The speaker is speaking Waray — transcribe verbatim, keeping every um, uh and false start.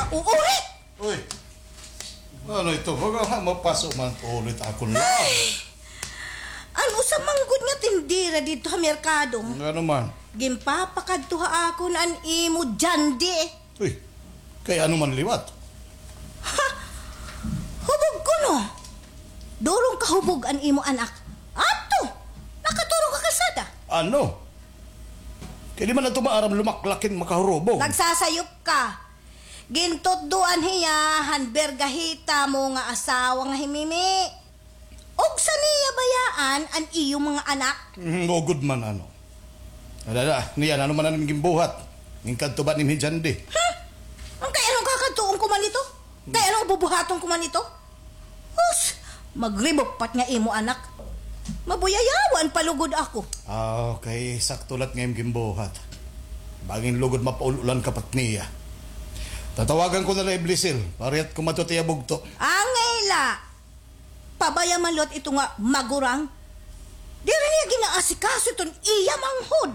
Uy! Ano ito? Baga ha, mapaso man ulit akon lawak. Ay! An usa man gud nga tindera didto ha merkado. Ngano man? Ginpapakadto ha akon an imo Jandi. Uy, kay ano man liwat? Ha? Hubog kuno. Durong kahubog an imo anak. Adto! Nakaturog ha kalsada. Ano? Kay di man adto maaram lumaklak hin makahurubog. Nagsasayop ka. Gintutdoan hiya han bergahita mo nga asawa nga hi Mimi. Ugsa niya bayaan an iyo mga anak? Mm, ugod man, ano. Ada, ada, niyan, ano man an ginbuhat? Ginkadto ba ni Mijandi? Hmm? An kay ano kakadtuon ko man ito? Kay ano bubuhaton ko man ito? Hus, magribok pa it nga imo anak. Mabuyayawan pa lugod ako. Ah, okay, sakto la it nga imo ginbuhat. Bangin lugod mapaul-ulan ka pa it niya. Tatawagan ko na la hi Blisil, parihas ko madto ha iya bugto. Angay la. Pabaya man liwat ito nga magurang. Diri niya ginaasikaso iton iya manghod.